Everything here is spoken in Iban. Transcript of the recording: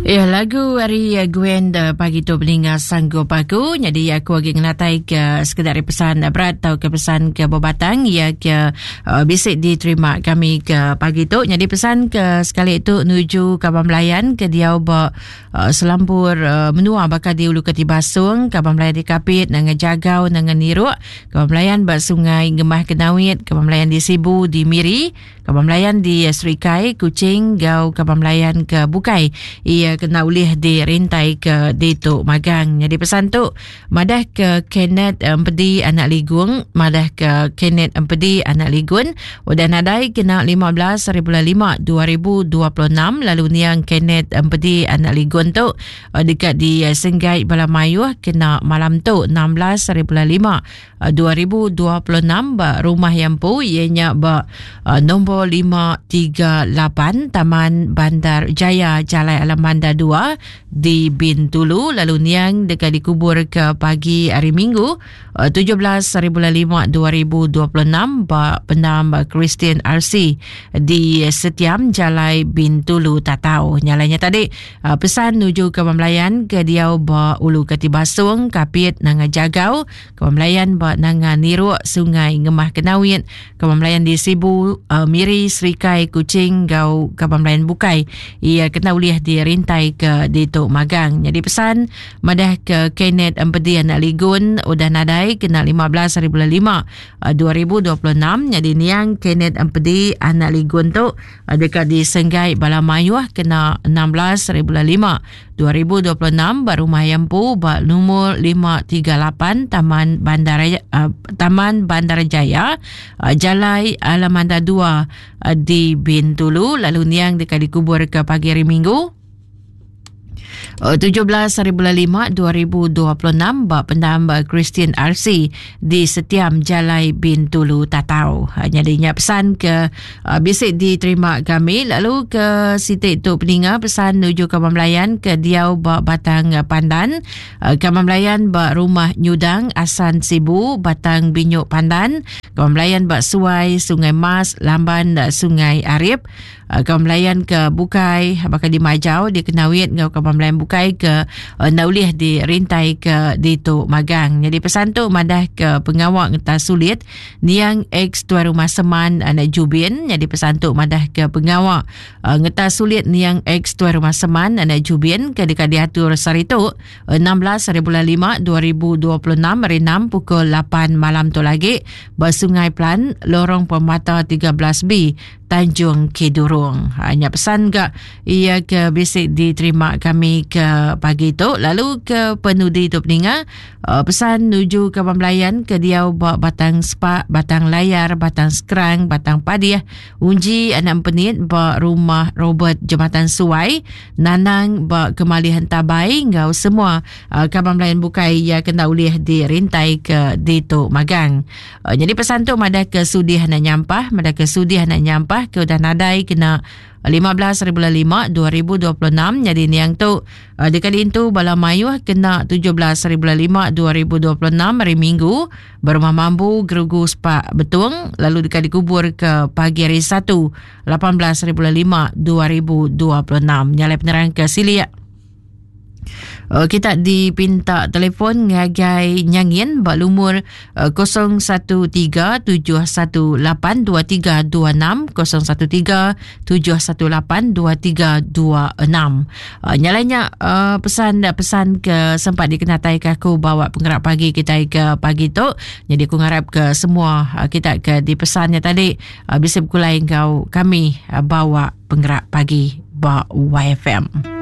Ya, lagu ari eh, Gwen eh, pagi tu peninga sanggup aku. Jadi aku lagi ngenatai ke sekedar pesan berat atau ke pesan ke bebatang ya ke uh, bisik diterima kami ke pagi tu. Jadi pesan ke sekali itu nuju kaban belayan ke diau ba uh, selampur uh, menua bakal di Ulu Ketibasung, kaban belayan di Kapit, nanga Jagau, nanga Niruk, kaban belayan ba Sungai Ngemah Kenawit, kaban belayan di Sibu, di Miri, Kaban belayan di Serikai, Kuching enggau kaban belayan ke bukai iya kena ulih dirintai ke ditu magang. Nyadi pesan tu madah ke Kenneth Empedi anak Ligung, madah ke Kenneth Empedi anak Ligun udah nadai kena 15 hari bulan 5 2026 lalu niang Kenneth Empedi anak Ligun tu eh, deka disenggai bala mayuh kena malam tu 16 hari bulan 5 2026 ba rumah iya empu iya nya ba uh, nombor 538 Taman Bandar Jaya Jalai Alamanda 2 di Bintulu lalu niang deka dikubur ke pagi hari Minggu uh, 17 hari bulan 5 2026 ba pendam Kristian RC di Setiam Jalai Bintulu Tatau. Nyalainya tadi uh, pesan nuju ke Belayan ke diau ba Ulu Katibasung Kapit Nanga Jagau Kaban Belayan ba Nanga Niruk, Sungai Ngemah Kenawit, Kaban Belayan di Sibu, uh, Miri, Serikai, Kuching enggau Kaban Belayan bukai iya kena ulih dirintai ke ditu magang. Nyadi pesan madah ke Kenneth Empedi anak Ligun udah nadai kena 15 hari bulan 5 2026 nyadi niang Kenneth Empedi anak Ligun tu uh, deka disenggai bala mayuh kena 16 hari bulan 5 2026 ba Rumah Iya Empu ba lumur 538 Taman Bandar uh, Taman Bandar Jaya uh, Jalai Alamanda 2 uh, di Bintulu lalu niang deka dikubur ke pagi hari Minggu 17 hari bulan 5 2026 ba pendam Christian RC di Setiam Jalai Bintulu Tatau. Jadi nya pesan ke Uh, bisi diterima kami lalu ke siti tu peninga pesan nuju kaban belayan ke diau ba Batang Pandan uh, kaban belayan ba Rumah Nyudang Asan Sibu Batang Binyuk Pandan kaban belayan ba Suai Sungai Mas Lamban uh, Sungai Arip uh, kaban belayan ke bukai baka di Majau di Kenawit enggau kaban belayan bukai ke uh, enda ulih dirintai ke ditu magang. Jadi pesan tu madah ke pengawa ngetas sulit Niang ex Tuai Rumah Seman anak Jubin nyadi pesan tu madah ke pengawa uh, ngetas sulit niang ex Tuai Rumah Seman anak Jubin ke deka diatur sehari tu 16 hari bulan 5 2026 hari 6 pukul 8 malam tu lagi ba Sungai Plan Lorong Permata 13B Tanjung Kidurong. Ha, nya pesan ga ia ke bisi diterima kami ke pagi tu lalu ke penudi tu peninga uh, pesan nuju ke Belayan ke diau ba Batang Sepak, Batang Layar, Batang Skrang, Batang Padih, Unji anak Empenit ba rumah Robert Jematan Suai, Nanang ba Kemali Hentabai enggau semua uh, kaban Belayan bukai ia kena ulih dirintai ke ditu magang. Uh, jadi pesan tu madah ke sudih anak nyampah, madah ke sudih anak nyampah ke udah nadai kena 15 hari bulan 5 2026 jadi niang tu uh, deka diintu bala mayuh kena 17 hari bulan 5 2026 hari Minggu berumah mambu gerugu sepak betung lalu deka dikubur ke pagi hari 1 18 hari bulan 5 2026 nyalai penerang ke silik Uh, kita dipinta telefon ngagai Nyangin ba lumur uh, 0137182326 0137182326. Uh, nyalanya uh, pesan pesan ke sempat dikenatai ke aku bawa pengerak pagi kita ke pagi tu. Jadi aku ngarap ke semua uh, kita ke dipesannya tadi uh, bisa berkulai enggau kami uh, bawa pengerak pagi ba YFM.